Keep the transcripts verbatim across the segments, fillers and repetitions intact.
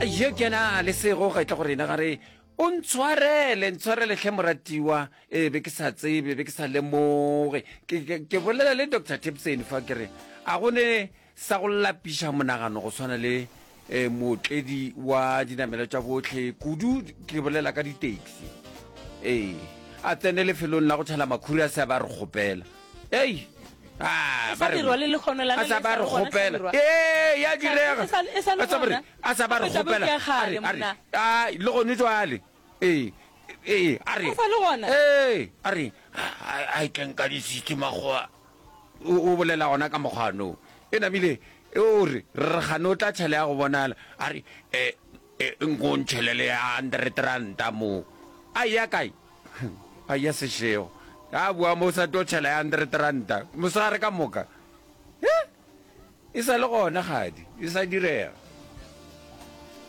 Ye ke na le sego ga etla go rena ga re o ntshwarele, ntshwarele hle moratiwa, e be ke sa tsebe, be ke sa lemoge. Ke, ke, ke bolela le Doctor Tipson fa ke re a go ne sa go lapiša monagano go swana le eh, mootledi wa dinamelo tša bohle, kudu ke bolela ka di-taxi. Ee, a tsene lefelong la go tšhela makhuri a se a ba re kgopela. Ei, ah, E sa ba re- dirwa le lekgono la a sa le ba sa re le gona, kgopela. Hlabirwa. Ee, ya direga. E sa- e sa le A sa ba re- gona. a sa ba re Gape taba kgopela. ke ya kgale, A re- a re, monna. ah, le gone jwale. Ee, ee, a re. O sa le gona? Ee, a re, a, a e tleng ka di-sixty makgowa. O, o bolela gona ka mokgwa no. E namile, e o re, re gane o tla tšhela ya go bonala. A re, e, e, nko ntšhelele ya hundred ranta mo. A ya kae? A ya sešego. A bua mo o sa tlo tšhela ya hundred ranta. Mosegare ka moka. Eh? E sa le gona gadi, e sa direga.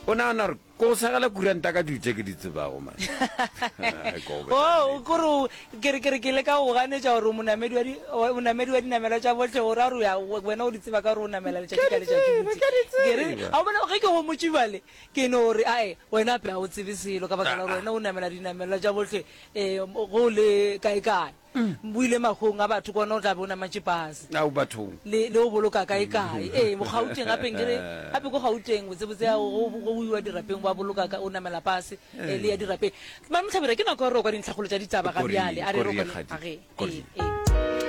O nagana gore ko go segela kuranta ka dilo tše ke di tsebago, man. Ai, ko go Oh, kore o- ke re ke re ke leka go ganetša gore o monamedi wa di- wa- monamedi wa dinamelwa tša bohle, gore a re o ya- wena o di tseba ka gore o namela letšatši ka letšatši tseba, botse. ke a di Ke re, tseba. a o bona ge ke go motše bjale, ke no re, ae, wena ape ga o tsebe selo ka baka la gore Ah, ah. wena o namela dinamelwa tša bohle, um go le kae kae. O ile magong a batho kona o tla be o namatše pase. Ao bathong. Le le o boloka kae kae. Ee, mo Gauteng gape nkere, gape ko Gauteng botsebotse ya go go iwa dirapeng ba boloka ka o namela pase, eh, le ya dirapeng. Mame Hlabirwa, ke nako ya gore o kwa dintlhakgolo tša ditaba ga Kori, bjale. A re re kori o ye kwane- kgadi. a ge, Kori. ee, ee.